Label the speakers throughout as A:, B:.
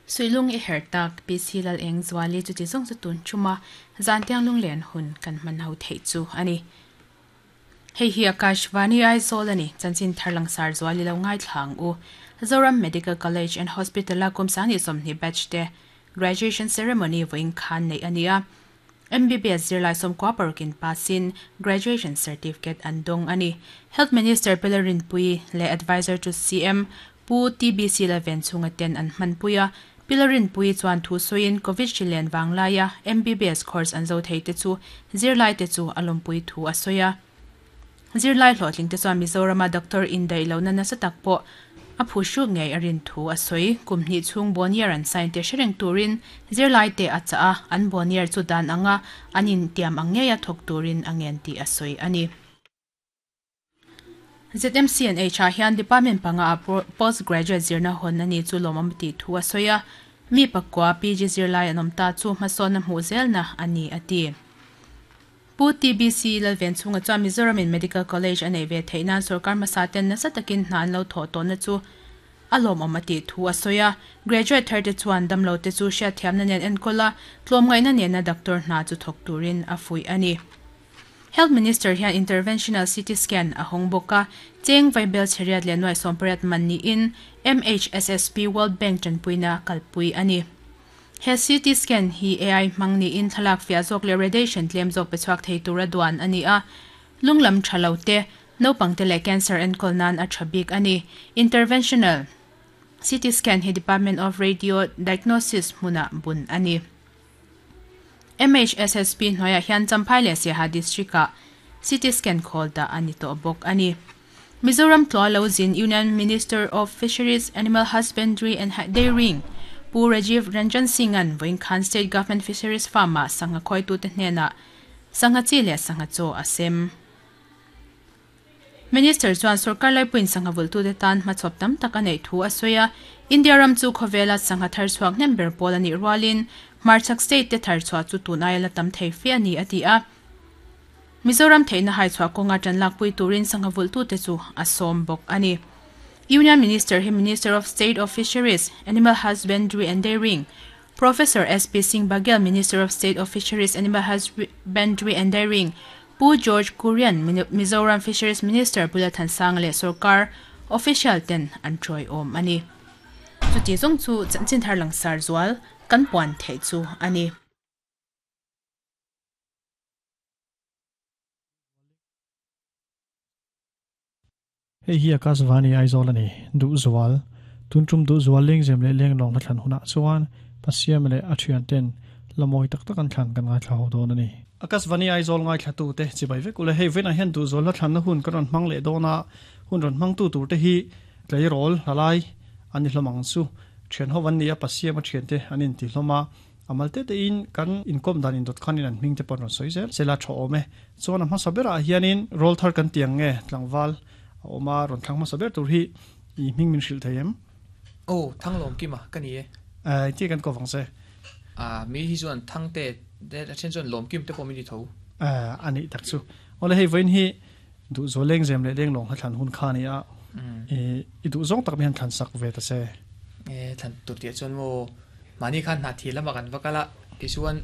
A: Suihlung i herh tak, PC Lalengzuali chuti zawng chu tun ṭhuma zantiang lunglen hun kan hman ho theih chu a ni. Hei hi Akashvani Aizawl a ni, chanchin thar langsar zual i lo ngaithla ang u. Zoram Medical College and Hospital-a kum 20 batch te graduation ceremony vawiin khan neih a ni a. MBBS zirlai 96 in pass-in graduation certificate an dawng a ni. Health Minister Pela Rinpuii leh Adviser to CM Pu TBC Lalven chhunga ten an hmanpui a. Pela Rinpuii chuan thu sawiin Covid hri len vanglaia MBBS course an zo thei te chu zirlaite chu a lawmpui thu a sawi a. Zirlai hlawhtling te chuan Mizorama doctor indaih lohna nasa tak pawh a phu hruk ngei a rin thu a sawi. Kum hnih chhung Bonnier an sign te hre reng turin zirlai te a chah a, an Bonnier chu dan anga an intiam ang ngeia thawk turin a ngen tih a sawi a ni. ZMCNH ah hian department panga ah post graduate zirna hawn a ni chu lawmawm tih thu a sawi a, mi pakua PG zirlai an awm ta chu hmasawnna hmuh zelna a ni a ti. Pu TBC Lalvenchhunga chuan Mizoram in Medical College a neih ve theih nan sorkar hmasa ten nasa takin hna an lo thawh tawhna chu a lawmawm a tih thu a sawi a. Graduate thar te chuan damlo te chu hriatthiamna nen enkawl a, tlawmngaihna nena doctor hna chu thawk turin a fuih a ni. Health Minister hian Interventional CT Scan a hawng bawk a, cheng vaibel chheriat leh nuaih 80 man niin MHSSP World Bank tanpuina kalpui a ni. He CT scan hi AI hmang niin thlalak fiah zawk leh radiation tlem zawk pe chhuak thei tura duan a ni a. Lung lam tha lo te, naupang te leh cancer enkawl nan a tha bik a ni. Interventional CT scan hi Department of Radio Diagnosis hmunah bun a ni. MHSSP hnuaiah hian Champhai leh Siaha District-ah CT scan khawl dah a ni tawh bawk a ni. Mizoram Tluah Lo Zin Union Minister of Fisheries, Animal Husbandry and Dairying Pu Rajiv Ranjan Singh-a'n vawiin khan State Government Fisheries Farm-ah sangha khawitute hnenah sangha chi leh sangha chaw a sem. Minister chuan sorkar laipuiin sangha vulhtute tan hmachhawp tam tak a neih thu a sawi a, India ram chu khawvela sangha thar chhuak hnem ber pawl a nih rualin hmarchhak state te thar chhuah chu tun aia la tam thei fe a ni a ti a. Mizoram theihna haichhuah kawnga tan lakpui turin sangha vulhtute chu a sawm bawk a ni. Union Minister hi Minister of State of Fisheries, Animal Husbandry and Dairying, Professor SP Singh Baghel, Minister of State of Fisheries, Animal Husbandry and Dairying, Pu George Kurian, Mizoram Fisheries Minister Pu Lalthansanga leh sorkar official ten an tawiawm a ni. Chuti zawng chu chanchin thar langsar zual kan puan theih chu a ni.
B: Hei hi Akashvani Aizawl a ni, Duhzual. Tun tum Duhzual lengzem leh lenglawng hla thlan hunah chuan Pasiama leh a thianten la mawi tak tak an thlan kan ngaithla ho dawn a ni. Akashvani Aizawl ngaithlatute chibai vek ule, hei vawiinah hian Duhzual hla thlanna hun kan rawn hmang leh dawn a, hun rawn hmangtu turte hi tleirawl hla lai an ni hlawm ang chu. Thian ho an ni a, Pasiama thiante an inti hlawm a. A mal te tein kan inkawm dan indawt khanin an hming te pawh an rawn sawi zel zel a, tha awm e. Chuan a hmasa berah hianin rawl thar kan ti ang nge tlangval a awm a, rawn thlang hmasa ber tur hi i hming min hrilh thei em?
C: Aw, Thanglawm Kima ka ni e.
B: Eh, engtin kan kawp ang che?
C: Ah, mi hi chuan Thangte te a then chuan Lawmkim te pawh min ti tho.
B: Eh, a nih tak chu. Awle hei vawiin hi duhzawl lengzem leh lenglawng hla thlan hun kha a ni a, i duhzawng tak mi han thlan sak ve ta che.
C: Eh, thlan tur tih ah chuan maw Mahni khan hna thil lamah kan va kal a, tichuan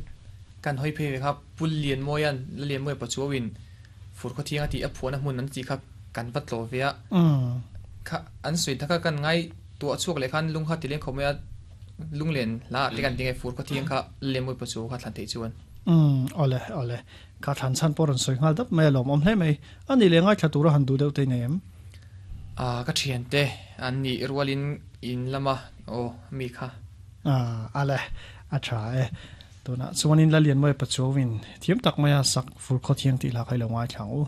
C: kan hawi phei ve kha Pul Lianmawia'n La Lianmawia Pachuauin fur khawthiang a tih a phuahna hmun an tih kha kan va tlawh ve a. Kha an sawi ta kha kan ngai tuah chhuak leh khan lung kha ti leng khawp mai a, lunglen hla ah te kan ti nge fur khawthiang kha La Lianmawia Pachuau kha thlan theih chuan.
B: Umm awle awle kha thlan chhan pawh rawn sawi nghal dap mai a lawmawm hle mai. A nih leh ngaithla tura han duh deuh te i nei em?
C: Ah ka thiante an nih rualin In lama aw mi kha.
B: Ah ale a tha e. Tunah chuanin Lalianmawia Pachuauin thiam tak maia sak fur khaw thiang tih hla kha i lo ngaithla ang u.